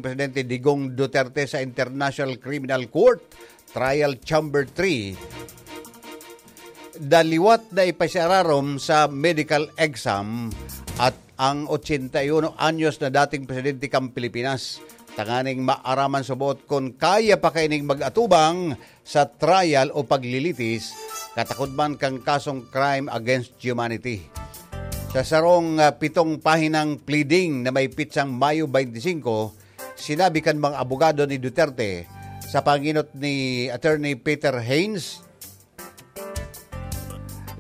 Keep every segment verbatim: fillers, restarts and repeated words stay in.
Presidente Digong Duterte sa International Criminal Court, Trial Chamber three, daliwat na ipasararom sa medical exam at ang ochenta y uno anyos na dating presidente kan Pilipinas, tanganing maaraman sa boot kun kaya pa kaining mag-atubang sa trial o paglilitis, katakod man kan kasong crime against humanity. Sa sarong, ah, pitong pahinang pleading na may pitsang Mayo twenty-five, sinabi kan mga abogado ni Duterte sa panginot ni Attorney Peter Haynes,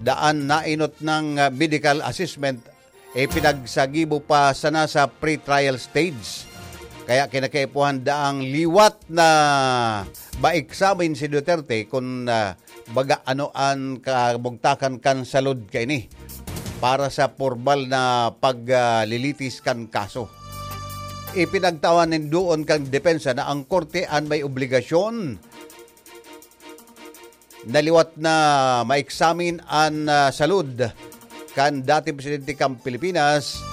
daan nainot ng, ah, medical assessment, eh, pinagsagibo pa sana sa pre-trial stage. Kaya kinakaipuhan daang liwat na ma-examine si Duterte kun, ah, baga ano an kabugtakan kan salud kaini para sa pormal na paglilitis kan kaso. Ipinagtawan nin duon kan depensa na ang korte an may obligasyon na liwat na ma-examine an, ah, salud kan dating presidente kan Pilipinas,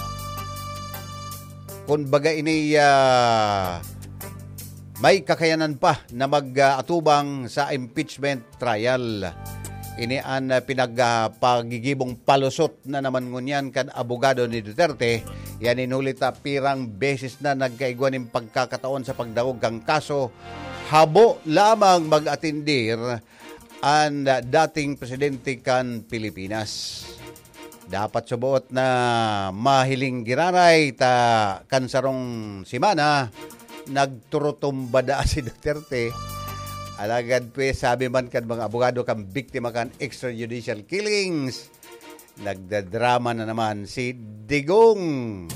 kun baga ini, ah, may kakayanan pa na mag, ah, atubang sa impeachment trial. Ini an, ah, pinag, ah, pagigibong palusot na naman ngunyan kan abogado ni Duterte. Yan in huli ta pirang beses na nagkaigwa nin pagkakataon sa pagdangog kan kaso, habo lamang mag-atendir an dating presidente kan Pilipinas. Dapat suboot na mahiling giraray ta kan sarong semana, nagturutumba daa si Duterte. Alagad, pues, sabi man kan mga abogado kan biktima kan extrajudicial killings, nagdadrama na naman si Digong.